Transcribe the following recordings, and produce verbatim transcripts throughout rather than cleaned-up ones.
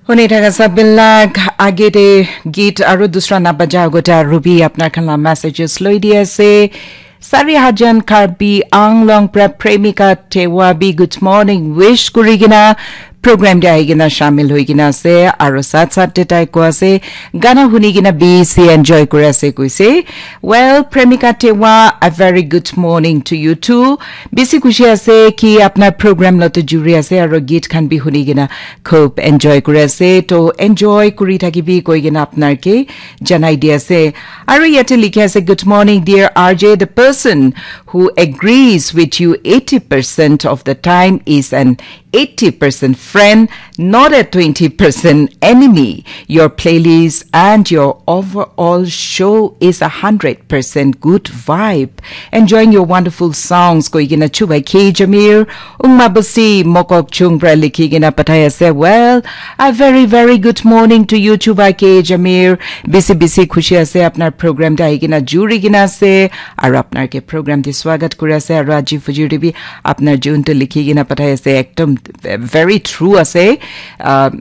Huni thaka sabilak agete git aru dusra na baja agota Ruby apnar khan la messages loi di ase. Sari Hajan Karbi Anglong pra Premika Tewa bi good morning wish kuri kena program de ahi kena shamil hoi kena ase. Aru sat sat de tai ko ase gana huni kena bisi enjoy kuri ase koise. Well, Premika Tewa, a very good morning to you too. Bisi khushi ase ki apnar program lo to juri ase aru git khan bi huni kena khub enjoy kuri ase. To enjoy kuri thakibi koi kena apnar ke janai di ase. Aru yate likhi ase, "Good morning, dear R J. The person who agrees with you eighty percent of the time is an eighty percent friend, not a twenty percent enemy. Your playlist and your overall show is a hundred percent good vibe. Enjoying your wonderful songs." Koi kena chuba K Jamir, Ungma Basi, Mokok Chung pra likhi kena pathai ase. Well, a very, very good morning to you, chuba K Jamir. Bisi, bisi khushi ase, apnar program te ahi kena juri kena ase. Aru apnar ke program te swagat kuri ase. Aru aji fujir te bi apnar jun to likhi kena pathai ase. Ekdom very true ase. Uh,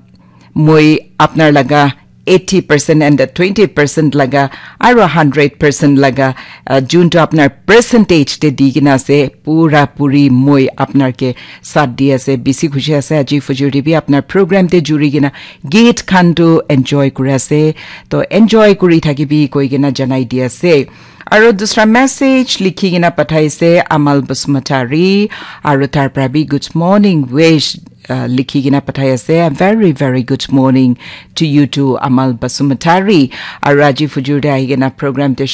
moi apnar laga eighty percent and the twenty percent laga aru hundred percent laga, uh, jun to apnar percentage te di kena ase, pura puri moi apnar ke sat di ase. Bisi khushi ase aji fujir te bi apnar program te juri kena git khan to enjoy kuri ase. To enjoy kuri thakibi koi kena janai di ase. Aru dusra message likhi kena pathai ase Amal Basumatari, aru tar pra bi good morning wish, uh, likhi kena pathai ase. A very, very good morning to you too, Amal Basumatari. Aru aji fujur te ahi kena program te